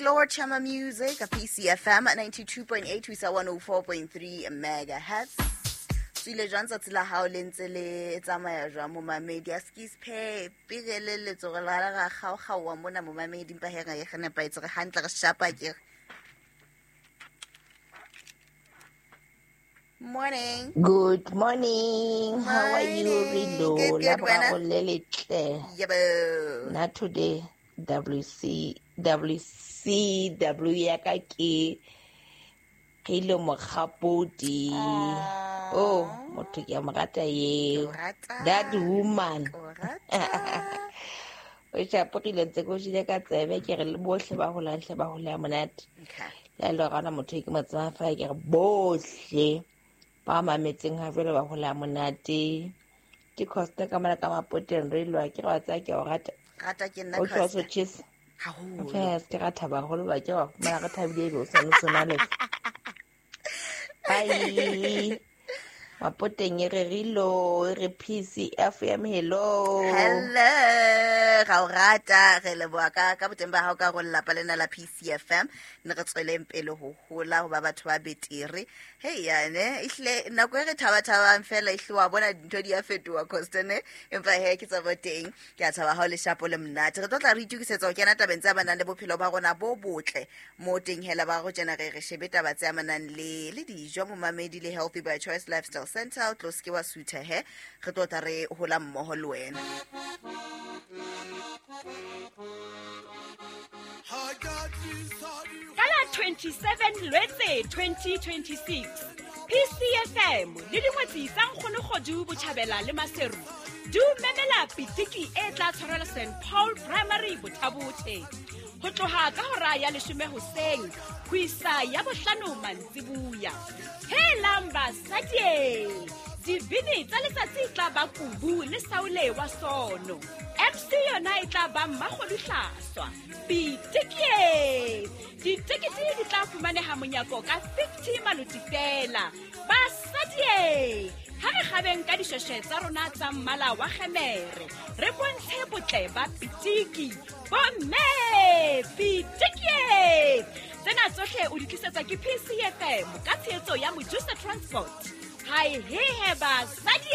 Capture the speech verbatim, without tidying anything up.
Lord Chama Music, a P C F M ninety-two point eight ho isa one oh four point three megahertz. Tswile jwang tsatsi la hao le ntse le tsamaya jwang momamedi? A skis phe pele le letsogo la ga kgaokgaoa mona momamedi, empa he ga e re nepahetse, re hantle, re shapa ke. Morning. Good morning. How are you, Rilo? Good, good, wena. Yebo. Not today. W C W C W ya ka ke Kilo Mokgapodi. Oh, motho ke a mo rata eo. That woman. O shapogile ntse ko jile ka tsebe ke re le bohle ba holang hle ba hola monate. Le le rana motho ke mo tseba fa ke re bohle ba mametseng ha jwale ba hola monate. Ke Costa ka mona ka Mapoteng re lwa ke re wa tsaya ke o rata. Rata ke nna Costa. Haholo. Yes, ke rata baholo ba ke wa fumana re thabile ebe o sa no sona le. Bye. Mapoteng e re rilo, e re P C F M, hello. Hello, ga o rata re leboha ka ka boteng ba hao ka go lelapa lena la P C F M. Ne re tsweleng pele ho hola ho ba batho ba betere. Hey yane, ehle nako e re thaba-thabang fela ehle wa bona dintho di a fetoha Costa ne. Empa he ke tsa boteng, ke a thaba ha o le shapo le monate. Re tlo tla re itokisetsa ho kena tabeng tse amanang le bophelo ba rona bo botle. Mo teng hela ba go tjena re re shebe taba tse amanang le le dijo momamedi le Healthy by Choice Lifestyle Center. O tlo se ke wa sutha he, re tlo tla re hola mmoho le wena. Ka la twenty-seven Lwetse twenty twenty-six, P C F M le dingwetsi tsa Nkgono Botjhabela le Maseru di o memela pitiki e tla tshwarelwa Saint Paul Primary Bothabothe ho tloha ka hora ya leshome hoseng ho isa ya bohlano mantsibuya. Helang basadi, dibini tsa letsatsi e tla ba Kubu le Saule wa Sono. M C yona e tla ba Mmakgodu Hlaswa. Pitiki! Ditekete di tla fumaneha monyako ka fifty maloti fela. Basadi, ha re kgabeng ka dishweshwe tsa rona tsa mmala wa kgemere, re bontshe botle ba pitiki. Bomme, pitiki! Tsena tsohle o di tlisetswa ke P C F M ka tshehetso ya Mojusa Transport. Hai he he basadi!